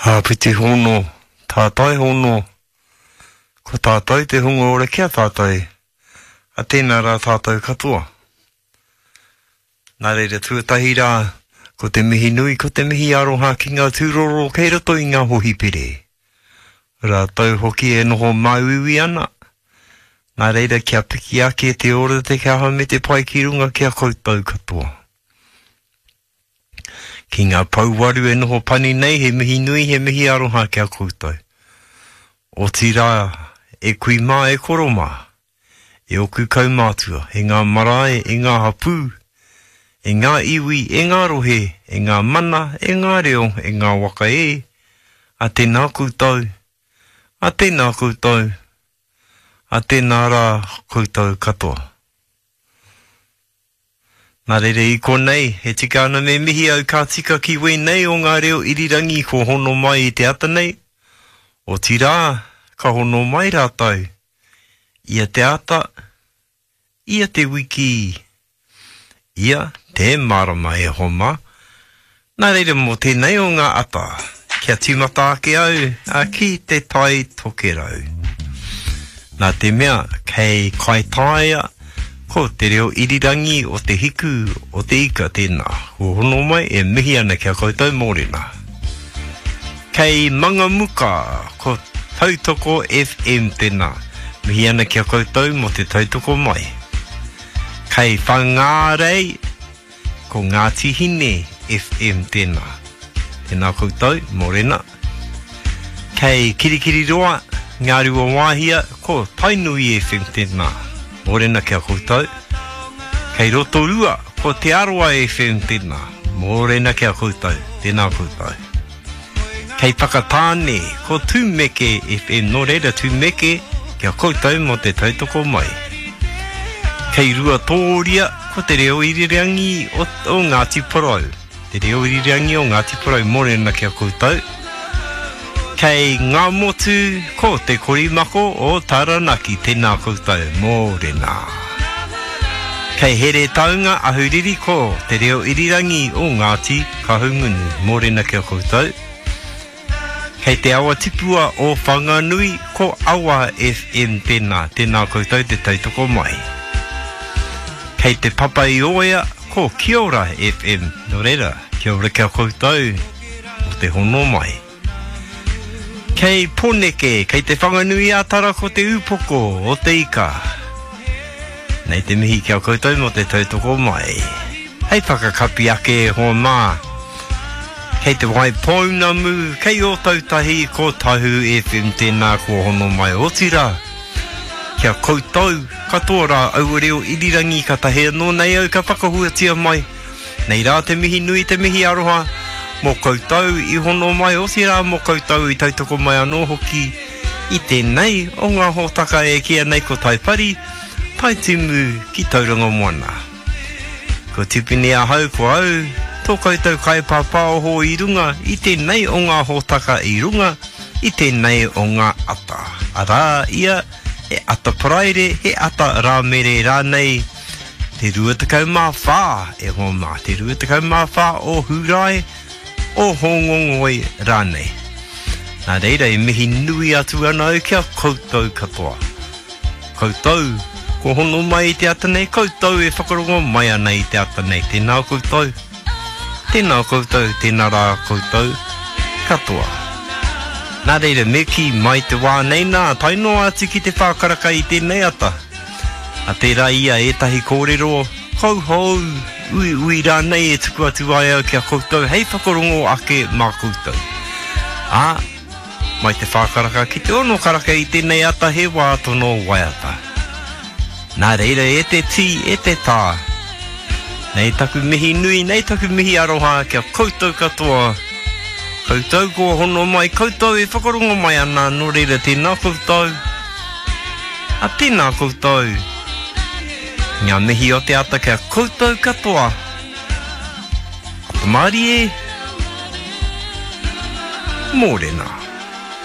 Āpiti hono, tātai hono, ko tātou te hunga ora ki a tātou, a tēnā rā tātou katoa. Nā reira tuatahi rā, ko te mihi nui, ko te mihi aroha ki ngā tūroro kei roto i ngā hohipere. Rātou hoki e noho māuiui ana, nā reira kia piki ake te ora, te kaha me te pai ki runga ki a koutou katoa. Ki ngā pouwaru e noho pani nei, he mihi nui, he mihi aroha ki a koutou. Otirā, e kui mā, e koro mā, e oku kaumātua, e ngā marae, e ngā hapū, e ngā iwi, e ngā rohe, e ngā mana, e ngā reo, e ngā waka e, a tēnā koutou, a tēnā koutou, a tēnā rā koutou katoa. Nā reira i konei, e tika ana me mihi au ka tika ki wēnei o ngā reo irirangi kua hono mai i te ata nei, otirā, ka hono mai rātou ia te ata, ia te wiki, ia te marama e hoa mā. Nā reira mō tēnei o ngā ata, kia tīmata ake au ki te Tai Tokerau. Nā te mea, kei Kaitaia, ko te reo irirangi o te hiku o te ika tēnā. Kua hono mai e mihi ana ki a koutou mōrena. Kei Mangamuka, ko Tautoko FM tēnā. Mihi ana ki a koutou mō te tautoko mai. Kei Whangārei, Ko Ngāti Hine FM tēnā. Tēnā koutou, mōrena. Kei Kirikiriroa, Ngāruawāhia, ko Tainui FM tēnā. Mōrena ki a koutou. Kei Rotorua, ko Te Arawa FM tēnā. Mōrena ki a koutou. Tēnā koutou. Kei Whakatāne, ko Tumeke FM, nō reira Tumeke ki a koutou mō te tautoko mai. Kei Ruatōria, ko te reo irirangi o, o Ngāti Porou. Te reo irirangi o Ngāti Porou, mōrena ki a koutou. Kei Ngāmotu, ko Te Korimako o Taranaki, tēnā koutou, mōrena. Kei Heretaunga, Ahuriri, ko te reo irirangi o Ngāti Kahungunu, mōrena ki a koutou. Kei te awa tipua o Whanganui, ko Awa FM tēnā, tēnā koutou te tautoko mai. Kei te Papa i Oea, ko Kiora FM, nō reira, kia ora ki a koutou mō te hono mai. Kei Poneke, kei Te Whanganui-a-Tara ko te upoko o te ika. Nei te mihi ki a koutou mō te tautoko mai. Hei whakakapi ake e hoa mā. Kei Te Waipounamu, kei Ōtautahi, ko Tahu FM tēnā kua hono mai. Otirā, ki a koutou katoa rā aua reo irirangi katahi anō nei au ka whakahuatia mai. Nei rā te mihi nui, te mihi aroha mō koutou i hono mai, otirā mō koutou i tautoko mai anō hoki i tēnei o ngā hōtaka e kīia nei ko Taipari, Taitimu ki Tauranga Moana. Ko Tipene ahau, ko au, tō koutou kaipāpāoho i runga i tēnei o ngā hōtaka i runga i tēnei o ngā ata. Arā ia, he ata Paraire, he ata Rāmere rānei, Te 24 e hoa mā, te 24 o Hūrae, o Hōngongoi rānei. Nā reira e mihi nui atu ana au ki a koutou katoa. Koutou, kua hono mai i te ata nei, koutou e whakarongo mai ana i te ata nei. Tēnā koutou, tēnā koutou, tēnā rā koutou katoa. Nā reira, me kī mai te wā nei nā, tae noa atu ki te whākaraka i tēnei ata. A tērā ia ētahi kōrero kauhou, uiui rānei e tuku atu ai au ki a koutou hei whakarongo ake mā koutou. Ā, mai te whā karaka ki te ono karaka i tēnei ata he wā tono waiata. Nā reira e te tī, e te tā, nei taku mihi nui, nei taku mihi aroha ki a koutou katoa, koutou kua hono mai, koutou e whakarongo mai ana, nō reira tēnā koutou. A tēnā koutou. Ngā mihi o te ata kia koutou katoa. Ata mārie. Mōrena.